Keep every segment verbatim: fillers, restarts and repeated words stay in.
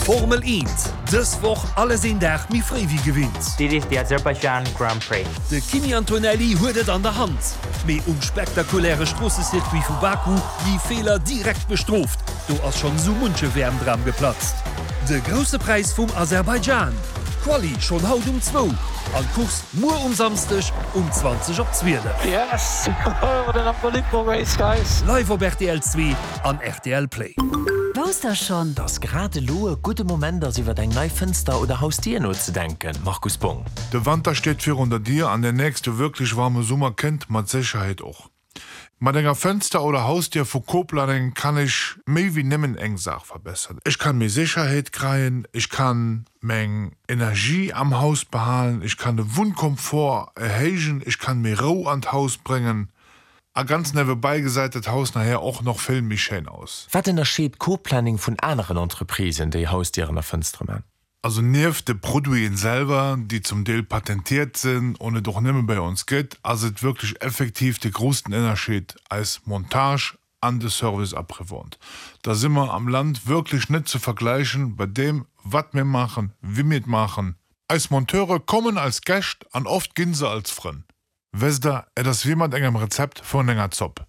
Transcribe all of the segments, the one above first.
Formel eent, dës Woch alles een Dag méi fréi wéi gewinnt. This is the Azerbaijan Grand Prix. De Kimi Antonelli huet et an der Hand. Mee um spektakuläre Stroossecircuit vu Baku gi Feeler direkt bestrooft. Do ass schonn sou munche W M-Dram geplatzt. De Grousse Präis vum Aserbaidschan. Quali schonn haut um zwou an d'Course muer um Samschdeg um zwanzeg op zwielef. Yes! What an unbelievable race, guys! Live op R T L zwee an R T L Play. Wousst der schonn, dass grad elo e gudde Moment ass, iwwer eng nei Fënster oder Hausdier nozedenken, Markus Bong? De Wanter steet virun der Dier an der nächste wierklech waarme Summer kënnt mat Sécherheet och. Mat enger Fënster oder Hausdier vu Co-Planning kann ech méi wéi nëmmen eng Saach verbesseren. Ech kann méi Sécherheet kréien, ech kann meng Energie am Haus behalen, ech kann de Wunnkomfort erhéijen, ech kann méi Rou an d'Haus bréngen. A ganz niewebäi gesäit dat Haus nachher och nach vill méi schéin aus. Wat ënnerscheet Co-Planning vun aneren Entreprisen, déi Hausdieren a Fënstere maachen? Also nieft de Produiten selwer, déi zum Deel patentiert sinn an et och nëmme bei ons gëtt, ass et wierklech effektiv de groussen Ënnerscheed eis Montage an de Service après-vente. Da si mer am Land wierklech net ze vergläichen bei deem, wat mir maachen, wéi mir et maachen. Eis Monteure kommen als Gäscht an oft ginn se als Frënn. Wësst der, et ass wéi mat engem Rezept vun enger Zopp.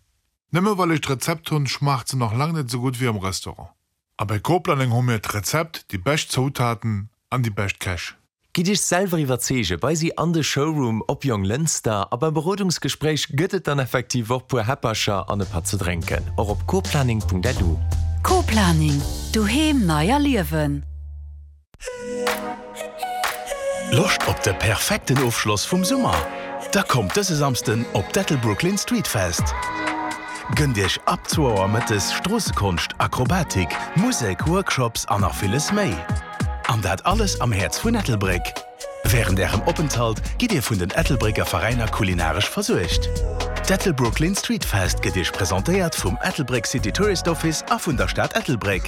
Nëmme well ech d'Rezept hunn, schmaacht se nach laang net sou gutt wéi am Restaurant. A bei Co-Planning hu mir d'Rezept, déi bescht Zoutaten an déi bescht Käch. Gitt Iech selwer iwwerzeege bei si an de Showroom op Jonglënster a beim Berodungsgespréich gëtt et dann effektiv och puer Häppercher an e Patt ze drénken. Och op coplanning Punkt L U. Co-Planning, doheem nei erliewen. Loscht op de perfekten Ofschloss vum Summer? Da kommt dëse Samschden op d'Ettelbrucklyn Street Fest. Gënnt Iech ab zwou Auer mëttes Stroossekonscht, Akrobatik, Musek, Workshops an nach villes méi. An dat alles am Häerz vun Ettelbréck. Wärend Ärem Openthalt gitt Dir vun den Ettelbrécker Veräiner kulinaresch versuergt. D'Ettelbrucklyn Street Fest gëtt Iech presentéiert vum Ettelbréck City Tourist Office a vun der Stad Ettelbréck.